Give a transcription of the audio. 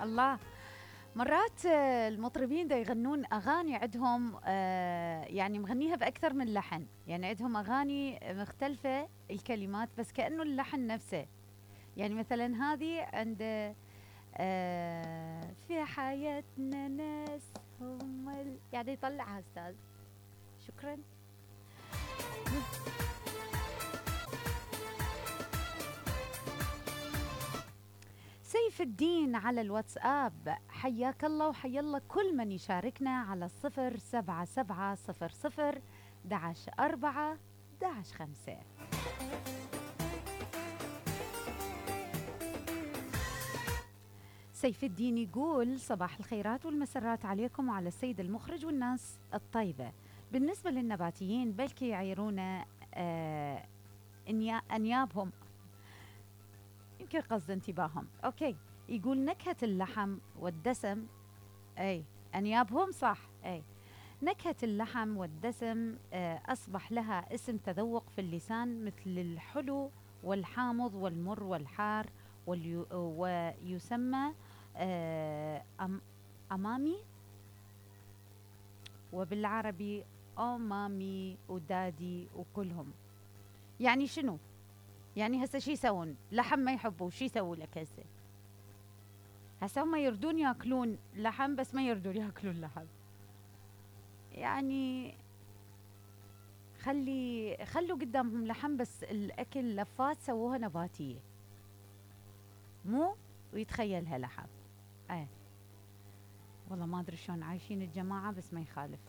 الله. مرات المطربين دا يغنون أغاني عندهم يعني مغنيها بأكثر من لحن، يعني عندهم أغاني مختلفة الكلمات بس كأنه اللحن نفسه. يعني مثلا هذه عند في حياتنا ناس هم يعني يطلعها أستاذ. شكرا. سيف الدين على الواتساب، حياك الله وحيا الله كل من يشاركنا على 07700 11 5. سيف الدين يقول صباح الخيرات والمسرات عليكم وعلى السيد المخرج والناس الطيبة. بالنسبة للنباتيين بلكي يعيرون أنيابهم، يمكن قصد انتباههم. أوكي، يقول نكهة اللحم والدسم، أي أنيابهم صح، أي نكهة اللحم والدسم أصبح لها اسم تذوق في اللسان مثل الحلو والحامض والمر والحار ويسمى أمامي، وبالعربي أمامي ودادي وكلهم. يعني شنو؟ يعني هسه شي يسوون؟ لحم ما يحبوا، شي يسووا لك هسه؟ هسه هم يردون ياكلون لحم بس ما يردون ياكلون لحم. يعني خلوا قدامهم لحم بس الأكل لفات سووها نباتية مو ويتخيلها لحم. والله ما أدري شلون عايشين الجماعة بس ما يخالف.